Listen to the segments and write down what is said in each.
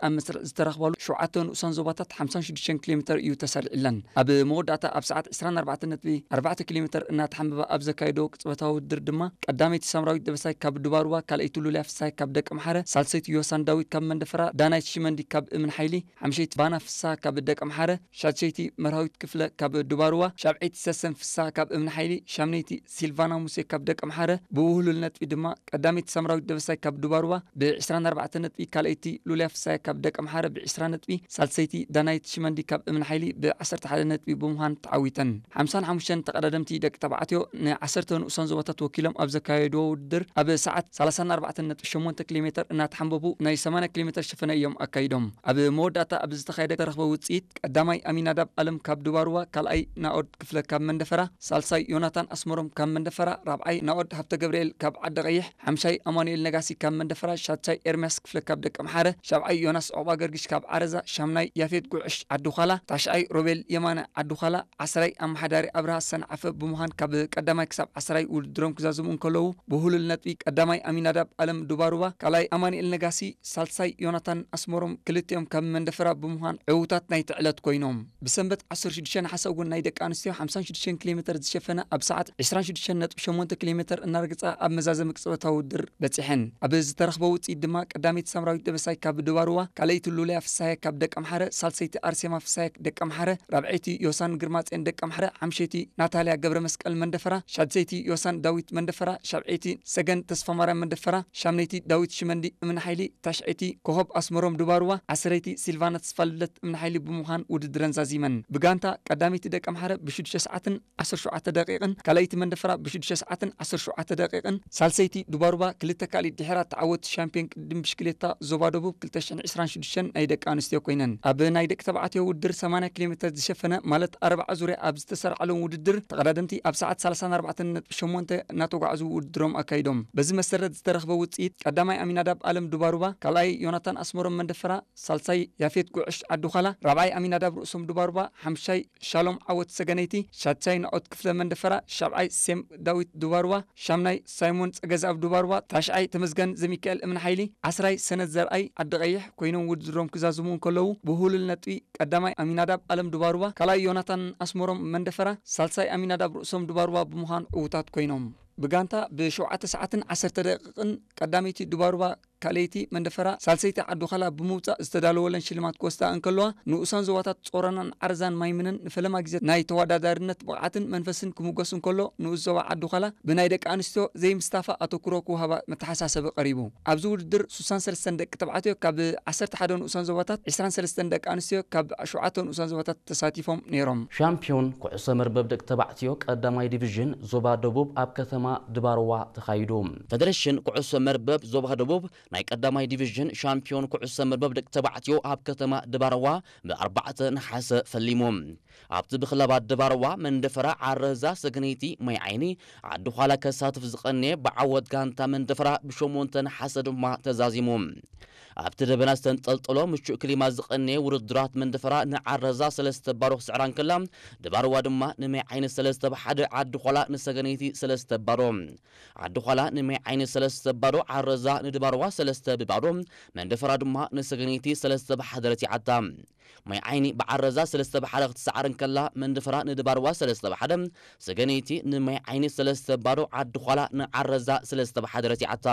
ኣብ መስርዕ ዝተረኽባሉ ሸውዓተ ንኡሳን ዞባታት ሓምሳን ሽዱሽተን ኪሎ ሜተር እዩ ተሰሪዕለን። ኣብ መወዳእታ ኣብ ሰዓት ዕስራን ኣርባዕተን ነጥቢ ኣርባዕተ ኪሎ ሜተር እናተሓንበባ ኣብ ዘካየዶ ቅጽበታዊ ውድድር ድማ ቀዳመይቲ ሳምራዊት ደበሳይ ካብ ዱባሩባ፣ ካልኣይቲ ሉልያ ፍሳይ ካብ ደቀምሓረ፣ ሳልሰይቲ ዮሳን ዳዊት ካብ መንደፈራ፣ ዳናይት ሽመንዲ ካብ እምንሓይሊ፣ ሓምሸይቲ ባና ፍሳ ካብ ደቀምሓረ፣ ሻድሸይቲ መርሃዊት ክፍለ ካብ ዱባሩባ፣ ሻብዐይቲ ሰሰን ፍሳ ካብ እምንሓይሊ፣ ሻምነይቲ ሲልቫና ሙሴ ካብ ደቀምሓረ ብውህሉል ነጥቢ ድማ ቀዳመይቲ ሳምራዊት ደበሳይ ካብ ዱባሩባ ብ ዕስራን ኣርባዕተን ነጥቢ፣ ካልኣይቲ ሉልያ ፍሳይ ካብ ደቀምሓረ ብ ዕስራ ነጥቢ፣ ሳልሰይቲ ዳናይት ሽመንዲ ካብ እምንሓይሊ ብ ዓሰርተ ሓደ ነጥቢ ብምዃን ተዓዊተን። ሓምሳን ሓሙሽተን ተቐዳደምቲ ደቂ ተባዕትዮ ንዓሰርተ ንኡሳን ዞባታት ወኪሎም ኣብ ዘካየድዎ ውድድር ኣብ ሰዓት ሰላሳን ኣርባዕተን ነጥቢ ሸሞንተ ኪሎ ሜተር እናተሓንበቡ ናይ ሰማንያ ኪሎ ሜተር ሸፈነ እዮም ኣካይዶም። ኣብ መወዳእታ ኣብ ዝተኻየደ ተረኽበ ውጽኢት ቀዳማይ ኣሚናዳብ ኣለም ካብ ዱባሩባ፣ ካልኣይ ናኦድ ክፍለ ካብ መንደፈራ፣ ሳልሳይ ዮናታን ኣስመሮም ካብ መንደፈራ፣ ራብዓይ ናኦድ ሃብተ ገብርኤል ካብ ዓዲ ቀይሕ፣ ሓምሻይ ኣማኑኤል ነጋሲ ካብ መንደፈራ፣ ሻድሻይ ኤርምያስ ክፍለ ካብ ደቀምሓረ፣ ሻብዓይ ዮናስ ዑቕባ ገርግሽ ካብ ዓረዛ፣ ሻምናይ ያፌት ጉዕሽ ዓዲ ዃላ፣ ታሽዓይ ሮቤል የማነ ዓዲ ዃላ፣ ዓስራይ ኣመሓዳሪ ኣብርሃ ሰንዓፈ ብምዃን ካብ ቀዳማይ ክሳብ ዓስራይ ውድድሮም ክዛዝሙ እንከለዉ፣ ብህሉል ነጥቢ ቀዳማይ ኣሚናዳብ ኣለም ዱባሩባ፣ ካልኣይ ኣማኑኤል ነጋሲ፣ ሳልሳይ ዮናታን ኣስመሮም ክልቲኦም ካብ መንደፈራ ብምዃን ዕዉታት ናይቲ ዕለት ኮይኖም። ብሰንበት ዓሰርተ ሽዱሽተ ነሓሰ እውን ናይ ደቂ ኣንስትዮ ሓምሳን ሽዱሽተን ኪሎ ሜተር ዝሸፈነ ኣብ ሰዓት ዕስራን ሽዱሽተን ነጥቢ ሸሞንተ ኪሎ ሜተር እናረግጻ ኣብ መዛዘሚ ቅጽበታዊ ውድድር በጺሐን። ኣብ ዝተረኽበ ውጽኢት ድማ ቀዳመይቲ ሳምራዊት ደበሳይ ካብ ዱባሩባ፣ ካልኣይቲ ሉልያ ፍሳየ ካብ ደቀምሓረ፣ ሳልሰይቲ ኣርሴማ ፍሳየ ደቀምሓረ፣ ራብዐይቲ ዮሳን ግርማጼን ደቀምሓረ፣ ሓምሸይቲ ናታልያ ገብረ መስቀል መንደፈራ፣ ሻድሰይቲ ዮሳን ዳዊት መንደፈራ፣ ሻብዐይቲ ሰገን ተስፋማርያም መንደፈራ፣ ሻምነይቲ ዳዊት ሽመንዲ እምንሓይሊ፣ ታሽዐይቲ ኮኸብ ኣስመሮም ዱባሩባ፣ ዓስረይቲ ሲልቫና ተስፋልደት እምንሓይሊ ብምዃን ውድድረን ዛዚመን። ብጋንታ ቀዳመይቲ ደቀምሓረ ብሽዱሽተ ሰዓትን ዓሰርተ ሸውዓተ ደቂቕን፣ ካልኣይቲ መንደፈራ ብሽዱሽተ ሰዓትን ዓሰርተ ሸውዓተ ደቂቕን፣ ሳልሰይቲ ዱባሩባ ክልተ ካልኢት ድሒራ ተዓወቲ ሻምፒዮን ቅድድም ብሽክሌታ ዞባ ደቡብ ክልተ ሽሕን ዕስራን ሽዱሽተን ናይ ደቂ ኣንስትዮ ኮይነን። ኣብ ናይ ደቂ ተባዕትዮ ውድድር ሰማንያ ኪሎ ሜተር ዝሸፈነ ማለት ኣርብዓ ዙርያ ኣብ ዝተሰርዓሎም ውድድር ተቐዳደምቲ ኣብ ሰዓት ሰላሳን ኣርባዕተን ነጥቢ ሸሞንተ እናተጓዕዙ ውድድሮም ኣካይዶም። በዚ መሰረት ዝተረኽበ ውጽኢት ቀዳማይ ኣሚናዳብ ኣለም ዱባሩባ፣ ካልኣይ ዮናታን ኣስመሮም መንደፈራ፣ ሳልሳይ ያፌት ጉዕሽ ዓዲ ዃላ፣ ራብዓይ ኣሚናዳብ ርእሶም ዱባሩባ፣ ሓምሻይ ሻሎም ዓወት ሰገነይቲ፣ ሻድሻይ ናኦት ክፍለ መንደፈራ፣ ሻብዓይ ሴም ዳዊት ዱባሩባ፣ ሻምናይ ሳይሞን ጸገዛብ ዱባሩባ፣ ታሽዓይ ተመስገን ዘሚካኤል እምንሓይሊ፣ ዓስራይ ሰነድ ዘርኣይ ዓዲ ቀይሕ ኮይኖም ውድድሮም ክዛዝሙ እንከለዉ፣ ብህሉል ነጥቢ ቀዳማይ ኣሚናዳብ ኣለም ዱባሩባ፣ ካልኣይ ዮናታን ኣስመሮም መንደፈራ፣ ሳልሳይ ኣሚናዳብ ርእሶም ዱባሩባ ብምዃን ዕዉታት ኮይኖም። ብጋንታ ብሸውዓተ ሰዓትን ዓሰርተ ደቂቕን ቀዳመይቲ ዱባሩባ፣ ካልኣይቲ መንደፈራ፣ ሳልሰይቲ ዓዲ ዃላ ብምውጻእ ዝተዳለወለን ሽልማት ክወስዳ እንከለዋ፣ ንኡሳን ዞባታት ጾረናን ዓረዛን ማይምነን ንፈለማ ግዜ ናይ ተወዳዳሪነት ብቕዓትን መንፈስን ክምጎስ እንከሎ፣ ንኡስ ዞባ ዓዲ ዃላ ብናይ ደቂ ኣንስትዮ ዘይምስታፋ ኣተኩሮ ክወሃባ መተሓሳሰቢ ቀሪቡ። ኣብዚ ውድድር ሱሳን ሰለስተን ደቂ ተባዕትዮ ካብ ዓሰርተ ሓደ ንኡሳን ዞባታት፣ ዕስራን ሰለስተን ደቂ ኣንስትዮ ካብ ሸውዓተ ንኡሳን ዞባታት ተሳቲፎም ነይሮም። ሻምፒዮን ኩዕሶ መርበብ ደቂ ተባዕትዮ ቀዳማይ ዲቪዥን ዞባ ደቡብ ኣብ ከተማ ድባርዋ ተኻይዱ። ፌደሬሽን ኩዕሶ መርበብ ዞባ ደቡብ ናይ ቀዳማይ ዲቪዥን ሻምፒዮን ኩዕሶ መርበብ ደቂ ተባዕትዮ ኣብ ከተማ ድባርዋ ብኣርባዕተ ነሓሰ ፈሊሙ። ኣብቲ ብክለባት ድባርዋ መንደፈራ፣ ዓረዛ፣ ሰገነይቲ፣ ማይ ዓይኒ፣ ዓዲ ዃላ ከሳትፍ ዝቐነየ ብዓወት ጋንታ መንደፈራ ብሸሞንተ ነሓሰ ድማ ተዛዚሙ። ኣብቲ ደበና ዝተንጠልጠሎ ምቹእ ክሊማ ዝቐነየ ውድድራት መንደፈራ ንዓረዛ ሰለስተ ባዶ ክስዕራ እንከላ፣ ድባርዋ ድማ ንማይ ዓይኒ ሰለስተ ብሓደ፣ ዓዲ ዃላ ንሰገነይቲ ሰለስተ ባዶ። ዓዲ ዃላ ንማይ ዓይኒ ሰለስተ ባዶ፣ ዓረዛ ንድባርዋ ሰለስተ ብባዶ፣ መንደፈራ ድማ ንሰገነይቲ ሰለስተ ብሓደ ረቲዓታ። ማይ ዓይኒ ብዓረዛ ሰለስተ ብሓደ ክትሰዓር እንከላ፣ መንደፈራ ንድባርዋ ሰለስተ ብሓደ፣ ሰገነይቲ ንማይ ዓይኒ ሰለስተ ባዶ፣ ዓዲ ዃላ ንዓረዛ ሰለስተ ብሓደ ረቲዓታ።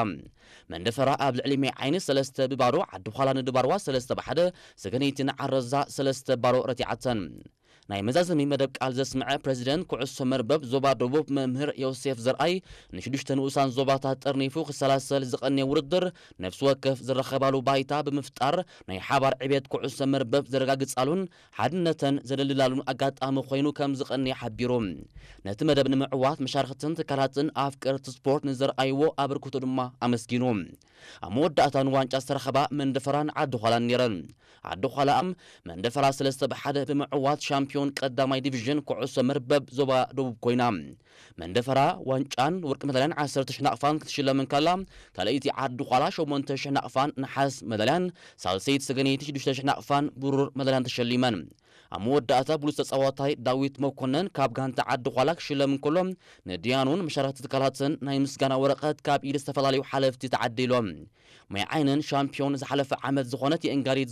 መንደፈራ ኣብ ልዕሊ ማይ ዓይኒ ሰለስተ ብባዶ፣ ዓዲ ዃላ ንድባርዋ ሰለስተ ብሓደ፣ ሰገነይቲ ንዓረዛ ሰለስተ ባዶ ረቲዓተን። ናይ መዛዘሚ መደብ ቃል ዘስምዐ ፕረዚደንት ኩዕሶ መርበብ ዞባ ደቡብ መምህር ዮሴፍ ዘርኣይ፣ ንሽዱሽተ ንኡሳን ዞባታት ጠርኒፉ ክሰላሰል ዝቐነየ ውድድር፣ ነፍሲ ወከፍ ዝረኸባሉ ባይታ ብምፍጣር ናይ ሓባር ዕቤት ኩዕሶ መርበብ ዘረጋግጻሉን ሓድነተን ዘደልድላሉን ኣጋጣሚ ኮይኑ ከም ዝቐነየ ሓቢሩ። ነቲ መደብ ንምዕዋት መሻርኽትን ትካላትን ኣፍቀርቲ ስፖርት ንዘርኣይዎ ኣበርክቶ ድማ ኣመስጊኑ። ኣብ መወዳእታ ንዋንጫ ዝተረኸባ መንደፈራን ዓዲ ዃላን ነይረን። ዓዲ ዃላ መንደፈራ ሰለስተ ብሓደ ብምዕዋት ሻምፒዮን ቀዳማይ ዲቪዥን ኩዕሶ መርበብ ዞባ ደቡብ ኮይና። መንደፈራ ዋንጫን ወርቂ መዳልያን ዓሰርተ ሽሕ ናቕፋን ክትሽለም እንከላ፣ ካልኣይቲ ዓዲ ዃላ ሸሞንተ ሽሕ ናቕፋን ነሓስ መዳልያን፣ ሳልሰይቲ ሰገነይቲ ሽዱሽተ ሽሕ ናቕፋን ብሩር መዳልያን ተሸሊመን። ኣብ መወዳእታ ብሉጽ ተጻዋታይ ዳዊት መኮነን ካብ ጋንታ ዓዲ ዃላ ክሽለም እንከሎ፣ ንድያኑን መሻርኽቲ ትካላትን ናይ ምስጋና ወረቐት ካብ ኢድ ዝተፈላለዩ ሓለፍቲ ተዓዲሎም። ማይ ዓይነን ሻምፒዮን ዝሓለፈ ዓመት ዝኾነት የእንጋዲት